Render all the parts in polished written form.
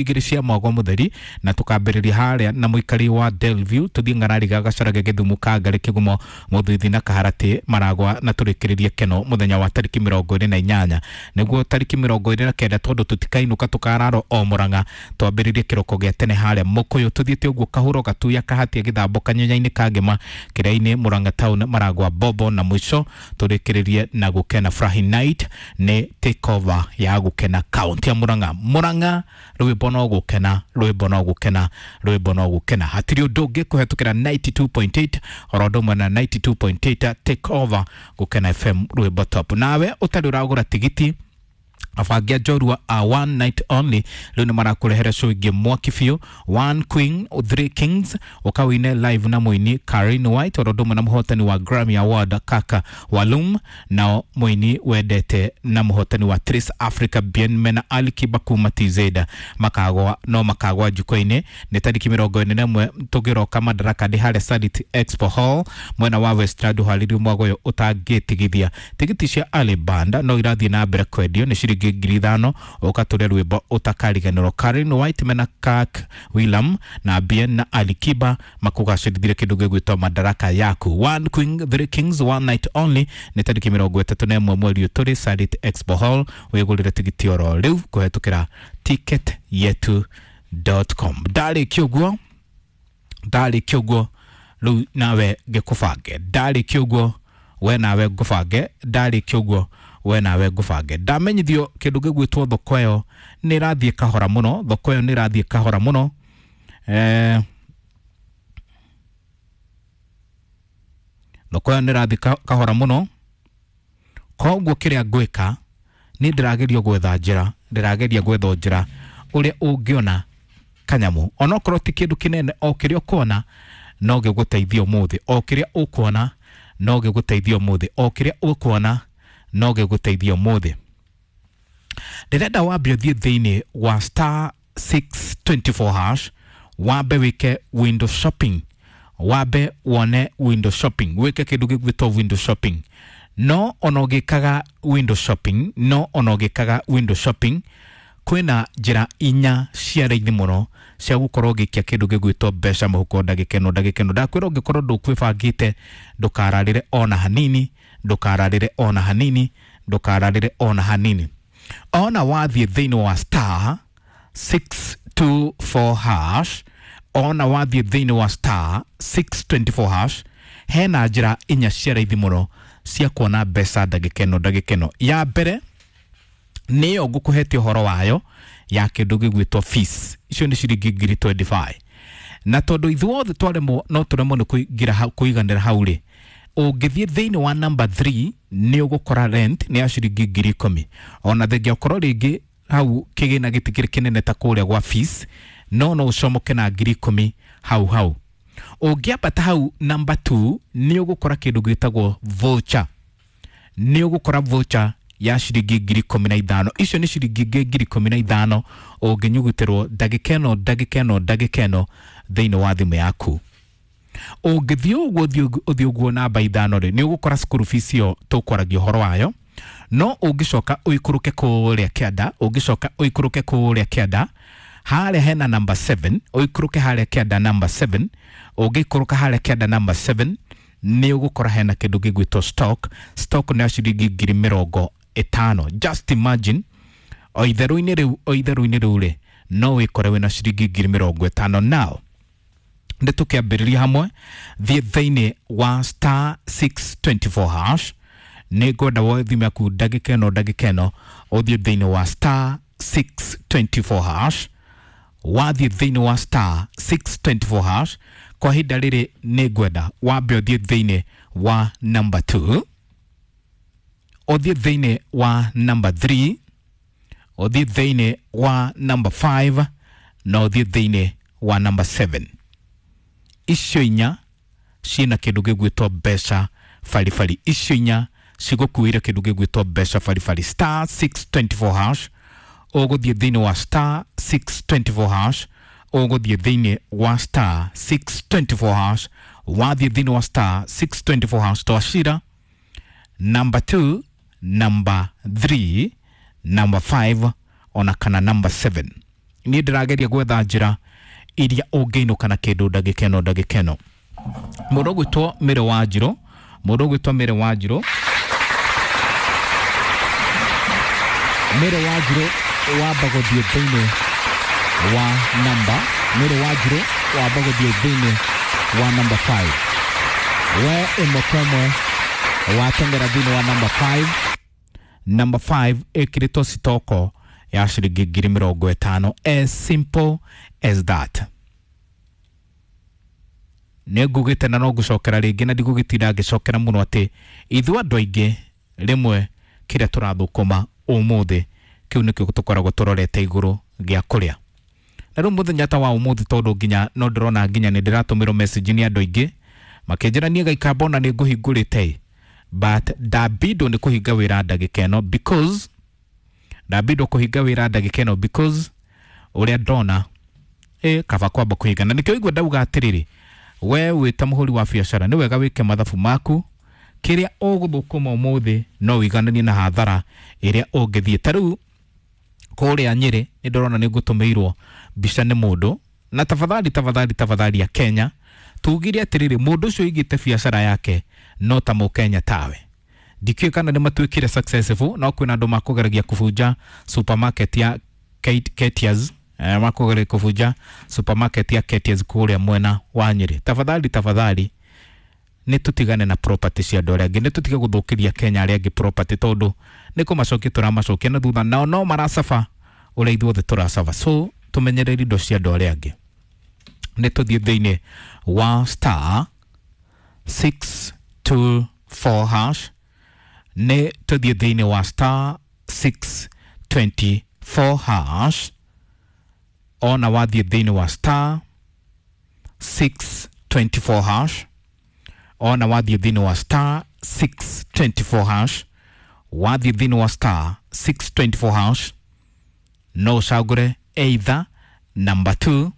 Igĩrĩ cia mwagwa mũtheri na tũkambĩrĩria harĩa na mũikari wa Delview tũthiĩ Ng'arariga Gacarage Gĩthumo Kangarĩ Kĩgumo Mũthuithi na Kaharatĩ Maragwa na tũrĩkĩrĩrie Keno mũthenya wa tarĩki 28 nĩguo tarĩki 29 tondũ tũtikainũka tũkararo o Mũrang'a twambĩrĩrie kĩroko gĩa tene harĩa Mũkũyũ tũthiĩte ũguo Kahũro Gatuya Kahatia Gĩthambo Kanyenya-inĩ Kangema Kĩrĩa-inĩ Mũrang'a Town Maragwa Bobo na mũico tũrĩkĩrĩrie na Gũkena Furahi Night nĩ takeover ya Gũkena kaunti ya Mũrang'a. Mũrang'a rwĩmbo no gũkena, rwĩmbo no gũkena, rwĩmbo no gũkena, hatirĩ ũndũ ũngĩ kũhetũkĩra 92.8 oro ũndũ ũmwe na 92.8 take over Gũkena FM rwĩmbo top. Nawe ũtarĩ ũragũra tigiti, abangi a njorua a one night only rĩu nĩ marakũrehera show ĩngĩ mwaki biũ, One Queen Three Kings, ũkawine live na mũini Karin White oro ũndũ ũmwe na mũhotani wa Grammy Award Kaka Walum, nao mũini wendete na mũhotani wa Trace Africa Bien mena Ali Kiba kuma TZ makagwa no makagwa jukwaa-inĩ. Nĩ tarĩki 41 tũgĩroka Madaraka ndĩ harĩa Sarit Expo Hall mwena wa Westland ũharĩrio mwago ũyũ ũtangĩtigithia. Tigiti cia Ali Band no irathiĩ na mbere kwendio nĩ ciringi 5,000 ũkatũre rwĩmbo ũtakariganĩrwo. Karen White mena Kirk William na Bien na Ali Kiba makũgacĩrithire kĩndũ gĩgwĩtwo Madaraka yaku. One Queen Three Kings, one night only, nĩ tarĩki 31 mweri ũyũ tũrĩ Sarit Expo Hall. Wĩgũrĩre tigiti oro rĩu kũhetũkĩra ticketyetu.com. Ndarĩkia ũguo, ndarĩkia ũguo rĩu nawe ngĩkũbange, ndarĩkia ũguo we nawe ngũbange, ndarĩkia ũguo we nawe ngũbange. Ndamenyithio kĩndũ gĩgwĩtwo thoko ĩyo nĩ ĩrathiĩ kahora mũno, thoko ĩyo nĩ ĩrathiĩ kahora mũno, thoko ĩyo nĩ ĩrathiĩ kahora mũno. Koguo kĩrĩa ngwĩka nĩ ndĩrageria gwetha njĩra, ndĩrageria gwetha njĩra ũrĩa ũngĩona kanyamũ onokorwo ti kĩndũ kĩnene, o kĩrĩa ũkuona no gĩgũteithie ũmũthĩ, o kĩrĩa ũkuona no gĩgũteithie ũmũthĩ, o kĩrĩa ũkuona no gĩgũteithie ũmũthĩ. Ndĩrenda wambe ũthiĩ thĩinĩ wa star 624 hash, wambe wĩke window shopping, wambe wone window shopping, wĩke kĩndũ gĩgwĩtwo window shopping. No ona ũgĩkaga window shopping, no ona ũgĩkaga window shopping, kwĩna njĩra inya cia raithi mũno cia gũkorwo ũgĩikia kĩndũ gĩgwĩtwo mbeca mũhuko ndagĩka ĩno ndagĩka ĩno. Ndakwĩra ũngĩkorwo ndũkwĩbangĩte ndũkararĩre ona hanini, ndũkararĩre ona hanini, ndũkararĩre ona hanini. Ona wathiĩ thĩinĩ wa star 624 hash, ona wathiĩ thĩinĩ wa star 624 hash, hena njĩra inya cia raithi mũno cia kuona mbeca ndagĩka ĩno ndagĩka ĩno. Ya mbere nĩyo ngũkũhete ũhoro wayo ya kĩndũ gĩgwĩtwo fees, icio nĩ ciringi 25,000, na tondũ ithuothe twaremwo no tũremwo nĩ kũingĩra kũiganĩra hau rĩ, ũngĩthiĩ thĩinĩ wa number 3 nĩ ũgũkora rent nĩ ya ciringi 10,000. Ona thengia ũkorwo rĩngĩ hau kĩgĩna gĩtikĩrĩ kĩnene ta kũrĩa gwa fees, no no ũcomoke na 10,000 hau hau. Ũngĩambata hau number 2 nĩ ũgũkora kĩndũ gĩtagwo voucher, nĩ ũgũkora voucher ya ciringi 15,000. Icio nĩ ciringi ingĩ 15,000 ũngĩnyugutĩrwo ndagĩka ĩno ndagĩka ĩno ndagĩka ĩno thĩinĩ wa thimũ yaku. Ũngĩthiĩ ũguo ũthiĩ ũguo namba 5 rĩ, nĩ ũgũkora school fees ĩyo tũkwaragia ũhoro wayo. No ũngĩcoka ũikũrũke kũrĩa kĩanda, ũngĩcoka ũikũrũke kũrĩa kĩanda harĩa hena number 7, ũikũrũke harĩa kĩanda number 7, ũngĩikũrũka harĩa kĩanda number 7 nĩ ũgũkora hena kĩndũ gĩgwĩtwo stock. Stock nĩ ya ciringi 50,000. Just imagine o itherũ-inĩ rĩu, o itherũ-inĩ rĩu rĩ, no wĩkore wĩna ciringi 50,000. Now nĩ tũkĩambĩrĩria hamwe, thiĩ thĩinĩ wa star 624 hash, nĩ ngwenda woe thimũ yaku ndagĩka ĩno ndagĩka ĩno, ũthiĩ thĩinĩ wa star 624 hash. Wathiĩ thĩinĩ wa star 624 hash kwa ihinda rĩrĩ nĩ ngwenda wambe ũthiĩ thĩinĩ wa number 2, ũthiĩ thĩinĩ wa number 3, ũthiĩ thĩinĩ wa number 5 na ũthiĩ thĩinĩ wa number 7. Icio inya ciĩna kĩndũ gĩgwĩtwo mbeca baribari, icio inya cigũkuĩre kĩndũ gĩgwĩtwo mbeca baribari. Star 624 hash, ũgũthiĩ thĩinĩ wa star 624 hash, ũgũthiĩ thĩinĩ wa star 624 hash. Wathiĩ thĩinĩ wa star 624 hash twacira number 2, number 3, number 5 ona kana number 7. Niĩ ndĩrageria gwetha njĩra iria ũngĩinũka na kĩndũ ndagĩka ĩno ndagĩka ĩno. Mũndũ ũgwĩtwo Mary Wanjirũ, mũndũ ũgwĩtwo Mary Wanjirũ, Mary Wanjirũ wamba gũthiĩ thĩinĩ wa namba, Mary Wanjirũ wamba gũthiĩ thĩinĩ wa namba 5. We ĩmwe kwa ĩmwe wateng'era thĩinĩ wa namba 5. Namba 5 ĩkĩrĩtwo citoko ya ciringi 50,000, as simple as that. Nĩ ngugĩte na no ngũcokera rĩngĩ na ndigũgĩtinda ngĩcokera mũno atĩ ithuĩ andũ aingĩ rĩmwe kĩrĩa tũrathũkũma ũmũthĩ kĩu nĩkĩo tũkoragwo tũrorete igũrũ gĩa kũrĩa. Na rĩu mũthenya ta wa ũmũthĩ tondũ nginya no ndĩrona nginya nĩ ndĩratũmĩrwo message nĩ andũ aingĩ makĩnjĩra niĩ gaikamba ona nĩ ngũhingũrĩte, but ndambindwo nĩ kũhinga wĩra ndagĩka ĩno because ndambindwo kũhinga wĩra ndagĩka ĩno because ũrĩa ndona kaba kwamba kũhinga. Na nĩkĩo igua ndauga atĩrĩrĩ, we wĩ ta mũhũri wa biacara nĩ wega wĩke mathabu maku, kĩrĩa ũgũthũkũma ũmũthĩ no ũigananie na hathara ĩrĩa ũngĩthiĩ. Ta rĩu kũrĩa Nyĩrĩ nĩ ndĩrona nĩ ngũtũmĩirwo mbica nĩ mũndũ, na tafadhali tafadhali tafadhali ya Kenya tugire atĩrĩrĩ, mũndũ ũcio ũigĩte biacara yake no ta mũkenya tawe. Ndikĩũĩ kana nĩ matuĩkire successful, no kwĩna andũ makũgeragia kũbunja supermarket ya Ketias, makũgeria kũbunja supermarket ya Ketias kũrĩa mwena wa Nyĩrĩ. Tafadhali tafadhali nĩ tũtigane na property cia andũ arĩa angĩ, nĩ tũtige gũthũkĩria Kenya arĩa angĩ property tondũ nĩ kũmacokia tũramacokia na thutha, nao no maracaba ũrĩa ithuothe tũracaba. So tũmenyerere indo cia andũ arĩa angĩ. Nĩ tũthiĩ thĩinĩ wa star 624 hash, nĩ tũthiĩ thĩinĩ wa star 624 hash. Ona wathiĩ thĩinĩ wa star 624 hash, ona wathiĩ thĩinĩ wa star 624 hash, wathiĩ thĩinĩ wa star 624 hash no ũcagũre either number 2,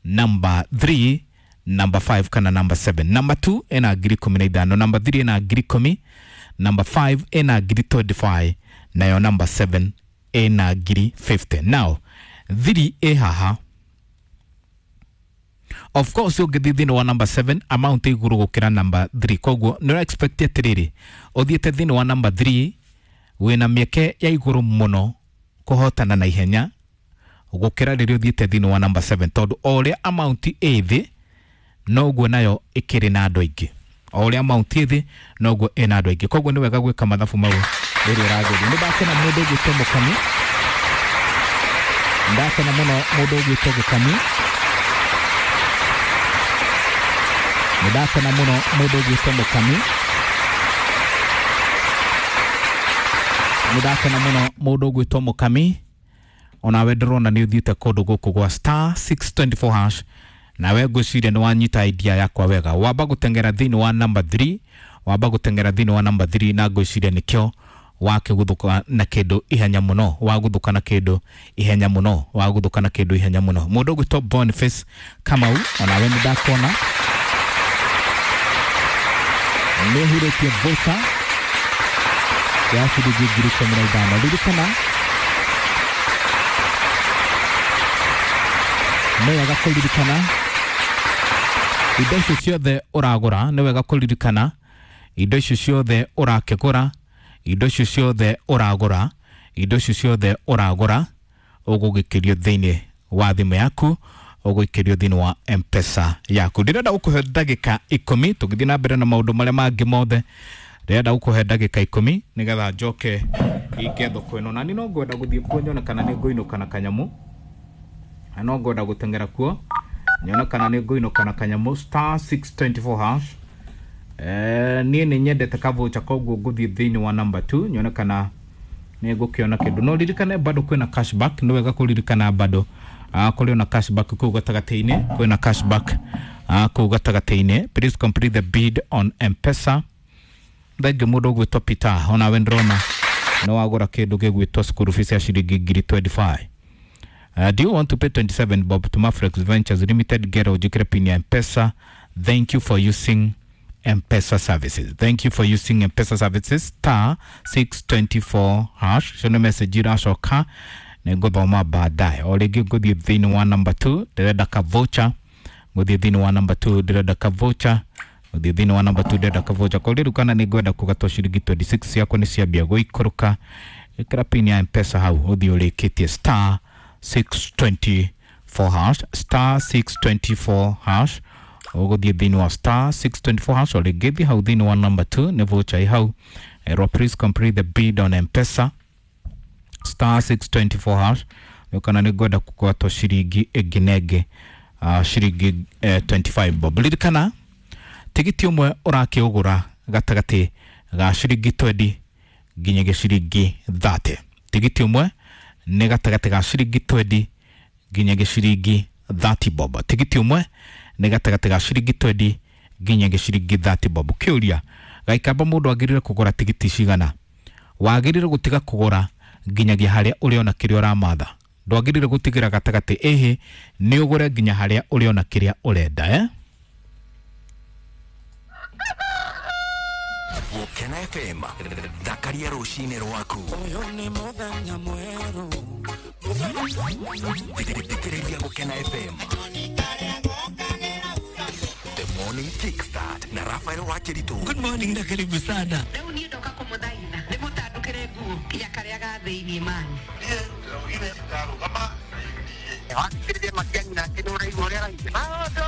number 3, number 5 kana number 7. Number 2 ĩna 15,000, number 3 ĩna 10,000, number 5 ĩna 25,000, nayo number 7 ĩna 50,000. Now 3 ĩ haha. Of course ũngĩthiĩ thĩinĩ wa number 7 amount ĩ igũrũ gũkĩra number 3, koguo nĩ ũra expect atĩrĩrĩ ũthiĩte thĩinĩ wa number 3 wĩna mĩeke ya igũrũ mũno kũhotana na ihenya gũkĩra rĩrĩa ũthiĩte thĩinĩ wa number 7, tondũ o ũrĩa amount ĩ thĩ noguo nayo ĩkĩrĩ na andũ aingĩ, o ũrĩa amount ĩ thĩ noguo ĩna andũ aingĩ. Koguo nĩ wega gwĩka mathabu mau rĩrĩa ũrageria. Nĩ ndakena mũndũ ũgwĩtwo Mũkami, ndakena mũno mũndũ ũgwĩtwo Gĩkami, nĩ ndakena mũno mũndũ ũgwĩtwo Mũkami, nĩ ndakena mũno mũndũ ũgwĩtwo Mũkami. Onawe ndĩrona nĩ ũthiĩte kũndũ gũkũ gwa star 624 hash, nawe ngwĩciria nĩ wanyita idea yakwa wega. Wamba gũteng'era thĩinĩ wa number 3, wamba gũteng'era thĩinĩ wa number 3 na ngwĩciria nĩkĩo wakĩguthũka na kĩndũ ihenya mũno, wagũthũka na kĩndũ ihenya mũno, wagũthũka na kĩndũ ihenya mũno. Mũndũ ũgwĩtwo Boniface Kamau, onawe nĩ ndakuona nĩ ũhurĩtie voucher ya ciringi 15,000. Ririkana nĩ wega kũririkana indo icio ciothe ũragũra, nĩ wega kũririkana indo icio ciothe ũrakĩgũra, indo icio ciothe ũragũra, indo icio ciothe ũragũra ũgũgĩkĩrio thĩinĩ wa thimũ yaku, ũgũikĩrio thĩinĩ wa M-Pesa yaku. Ndĩrenda gũkũhe ndagĩka 10 tũgĩthiĩ na mbere na maũndũ marĩa mangĩ mothe. Ndĩrenda gũkũhe ndagĩka 10 nĩgetha njoke hinge thoko ĩno, na niĩ no ngwenda gũthiĩ kuo nyone kana nĩ ngũinũka na kanyamũ, na no ngwenda gũteng'era kuo nyone kana nĩ ngũinũka na kanyamũ. Star 624 hash. Niĩ nĩ nyendete kavoucher, koguo ngũthiĩ thĩinĩ wa number 2 nyone kana nĩ ngũkĩona kĩndũ. No ririkane bado kwĩna cashback, nĩ wega kũririkana bado kũrĩ ona cashback kũu gatagatĩ-inĩ, kwĩna cashback kũu gatagatĩ-inĩ. Please complete the bid on M-Pesa. Thengiũ mũndũ ũgwĩtwo Peter, onawe ndĩrona nĩ wagũra kĩndũ gĩgwĩtwo school fees ya ciringi 25,000. Do you want to pay 27 bob to Mafrex Ventures Limited? Get ujikire pin ya M-Pesa. Thank you for using M-Pesa services. Thank you for using M-Pesa services. Star 624 hash. Shono message iracoka Nĩ ngũthoma baadaye. O rĩngĩ ngũthiĩ thĩinĩ wa number 2, ndĩrenda ka voucher. Ngũthiĩ thĩinĩ wa number 2, ndĩrenda ka voucher. Ngũthiĩ thĩinĩ wa number 2, ndĩrenda ka voucher. Kwa rĩu kana nĩ ngwenda kũgatwo ciringi 26 ciakwa nĩ ciambia gũikũrũka. Ĩkĩra pin ya Mpesa hau ũthiĩ ũrĩkĩtie star 624 hash, star 624 hash. Ũgũthiĩ thĩinĩ wa star 624 hash, o rĩngĩ thiĩ hau thĩinĩ wa number 2, nĩ voucher ĩ hau. Erwo please complete the bid on Mpesa, star 624 hash. Kana nĩ ngwenda kũgwatwo ciringi ĩngĩ na ĩngĩ, ciringi 25 bob. Ririkana tigiti ũmwe ũrakĩũgũra gatagatĩ ga ciringi 20 nginyagia ciringi 30. Tigiti ũmwe nĩ gatagatĩ ga ciringi 20 nginyagia ciringi 30 bob. Tigiti ũmwe nĩ gatagatĩ ga ciringi 20 nginyagia ciringi 30 bob. Kĩũria gaikamba, mũndũ agĩrĩire kũgũra tigiti cigana? Wagĩrĩire gũtiga kũgũra nginyagia harĩa ũrĩona kĩrĩa ũramatha. Ndwagĩrĩire gũtigĩra gatagatĩ, ĩhĩ, nĩ ũgũre nginya harĩa ũrĩona kĩrĩa ũrenda, eh? Gũkena FM, thakaria rũcinĩ rwaku. Ũyũ nĩ mũthenya mwerũ. Thikĩrĩria Gũkena FM The Morning Kickstart na Rafael Wakiritu. Good morning na karibu sana. Rĩu niĩ ndoka kũmũthaitha nĩ mũtandũkĩre nguo ya karĩa ga thĩiniĩ mani. Wakĩrĩria Matiang'i nake nĩ ũraigua ũrĩa araigua. Maũndũ